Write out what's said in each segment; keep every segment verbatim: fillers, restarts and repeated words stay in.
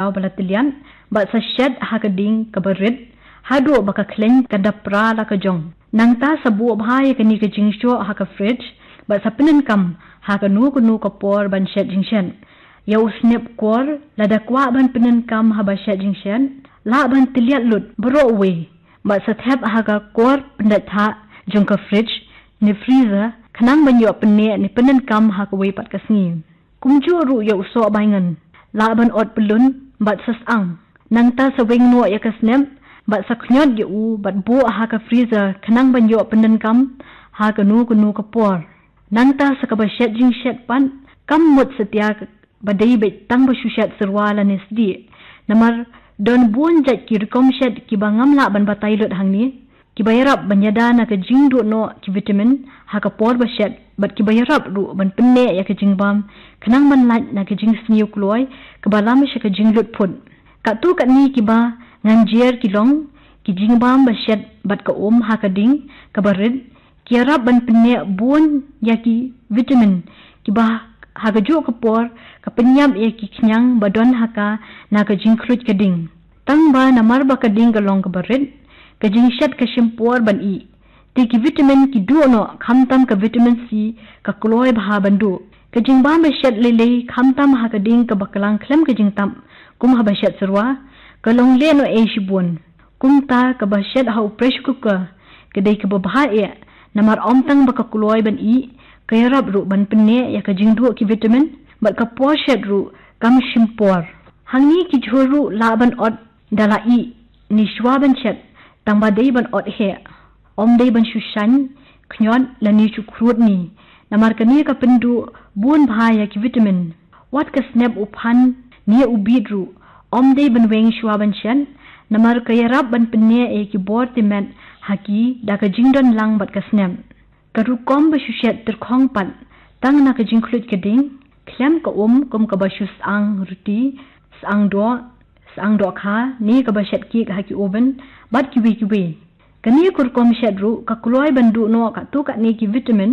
daw ba la tylliat, bad sa shet ha ka ding kaba rit, haduh ba ka khleiñ kan da pra la ka jong. Nangta sa buh bha ïa kane ka jingshoh ha ka fridge, bad sa pyndonkam ha kano kano ka por ban shet jingshet. Ïa u snep kor, lada kwah ban pyndonkam haba shet jingshet, lah ban tylliat lut baroh uwei, bad sa thep ha ka kor pyndait thah jong ka fridge ne freezer, khnang ban ïoh pynneh ne pyndonkam ha kawei pat ka sngi. Kumjuh ruh ïa u soh baingan, lah ban ot pyllun bad sa syang. Nangta sa weng noh ïa ka snep bad sa khñiot ïa u bad buh ha ka freezer khnang ban ïoh pyndonkam ha kano kano ka por. Nangta sa kaba shet jingshet pat, kam mut satia ba dei beit tang ba shu shet syrwa lane sdieh. Namar don bun jait ki rukom shet kiba ngam lah ban batai lut hangne, kiba ïarap ban ïada na ka jingduh noh ki vitamin ha ka por ba shet, bad kiba ïarap ruh ban pynneh ïa ka jingbam khnang ban lait na ka jingsniew kloi kaba lam sha ka jinglut phut. Katto katne kiba ngan jer ki long ki jingbam ba shet bad ka um ha ka ding kaba rit, ki ïarap ban pynneh bun ïa ki vitamin kiba ha kajuh ka por ka pynïap ïa ki khñiang ba don ha ka na ka jingkhluit ka ding. Tang ba namar ba ka ding ka long kaba rit, ka jingshet ka shim por ban ih. Te ki vitamin ki duh noh, khamtam ka vitamin C ka kloi bha ban duh. Ka jingbam ba shet lei lei khamtam ha ka ding kaba klang khlem ka jingtap, kum haba shet syrwa, ka long leh noh ei shibun. Kumta kaba shet ha u pressure cooker ka dei kaba bha eh, namar ym tang ba ka kloi ban ih, ka ïarap ruh ban pynneh ïa ka jingduh ki vitamin, bad ka por shet ruh kam shim por. Hangne ki jhur ruh lah ban ot da la ih ne shuwa ban shet, tang ba dei ban ot heh. Ym dei ban shu shaiñ, khñiot lane shu khrud ne, namar kane ka pynduh bun bha ïa ki vitamin. Wat ka snep u phan ne u bit ruh, ym dei ban weng shuwa ban shet, namar ka ïarap ban pynneh ïa ki bor tymmen ha ki da ka jingdon lang bad ka snep. Ka rukom ba shu shet tyrkhong pat, tang na ka jingkhluit ka ding, khlem ka um kum kaba shu syang ruti, syang doh, syang dohkha ne kaba shet cake ha ki oven, bad kiwei kiwei. Kane ka rukom shet ruh ka kloi ban duh noh katto katne ki vitamin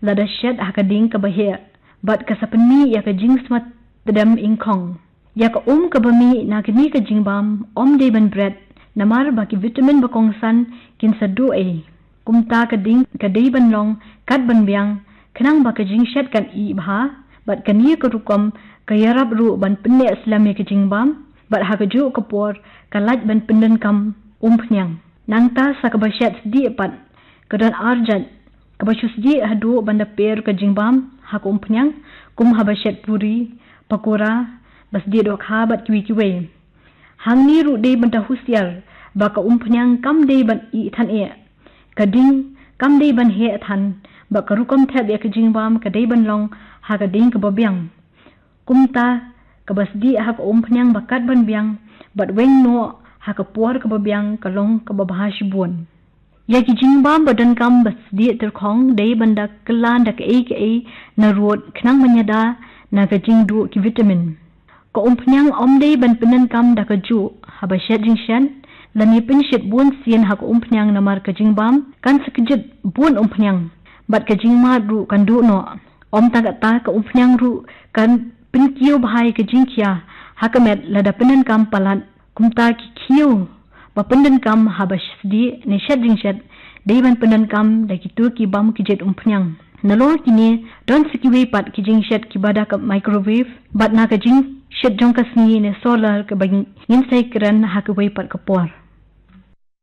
lada shet ha ka ding kaba heh, bad ka sa pynmih ïa ka jingsma tdem ingkhong. Ïa ka um kaba mih na kane ka jingbam ym dei ban bret, namar ba ki vitamin ba kongsan kin sa duh ei. Kumta ka ding ka dei ban long kat ban biang, khnang ba ka jingshet kan ih bha, bad kane ka rukom ka ïarap ruh ban pynneh slem ïa ka jingbam, bad ha kajuh ka por ka lait ban pyndonkam umphniang. Nangta sa kaba shet sdieh pat, ka don ar jait, kaba shu sdieh haduh ban da per ka jingbam ha ka umphniang, kum haba shet puri, pakora, ba sdieh dohkha bad kiwei kiwei. Hangne ruh dei ban da husiar ba ka umphniang kam dei ban ih than eh. Ka ding kam dei ban heh than, bad ka rukom thep ïa ka jingbam ka dei ban long ha ka ding kaba biang. Kumta kaba sdieh ha ka umphniang ba kat ban biang, bad weng noh ha ka por kaba biang ka long kaba bha shibun. Ïa ki jingbam ba donkam ba sdieh tyrkhong dei ban da kylla da kaei kaei na rud khnang ban ïada na ka jingduh ki vitamin. Ka umphniang ym dei ban pyndonkam da kajuh haba shet jingshet, lane pynshit bun sien ha ka umphniang namar ka jingbam kan sa kjit bun umphniang, bad ka jingmad ruh kan duh noh. Ym tang katta, ka umphniang ruh kan pynkiew bha ïa ka jingkhia ha ka met lada pyndonkam palat. Kumta ki khiew ba pyndonkam haba sdieh ne shet jingshet dei ban pyndonkam da kito ki bym kjit umphniang. Nalor kine, don sa kiwei pat ki jingshet kiba da ka microwave, bad na ka jingshit jong ka sngi ne solar kaba ngin sa ïakren ha kawei pat ka por.